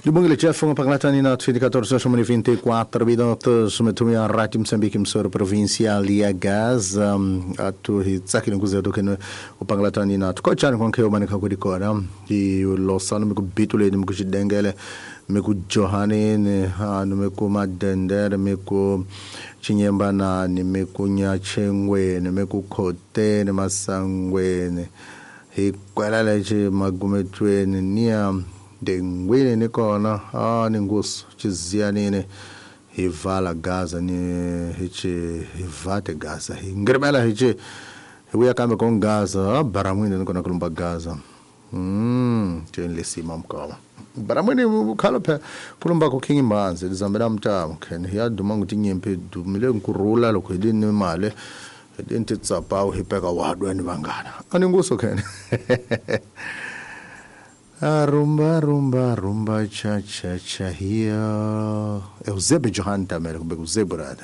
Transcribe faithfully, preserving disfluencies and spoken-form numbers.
Lubungile Jeff ngaphangalatani na vinte e quatro horas e vinte e quatro minutos metumia Rádio Moçambique, emissora provincial ya Gaza. Atu hi tsakile nkuzeto kene upangalatani na tukotshani konke umanika kudikona hi losano mikubituleni, mikuxidengele, mikujohaneni anu, mikumadendere, mikuchinyembanani, mikunyachengweni, mikukhoteni, masangweni, hi kwela lexi magumetweni niya ndengwini ni kona a ni ngusu chiziyanini hi vala Gaza ni hi chi hi vate Gaza hi ngirimela hi chi hi vuya kambe ko Gaza a baramwini ni kona kulumba Gaza mm tweni lesima mkoma baramwini khalo phe kulumba ku King Mbanzi lizambela mtamo khen ya duma nguti nyimpi dumile nkurula loko hi ni mali hi ni titsapawu hi peka wadweni vangana ani nguso khen. A rumba, rumba, rumba, cha, cha, cha, here. Eusébio Johan também, Eusébio.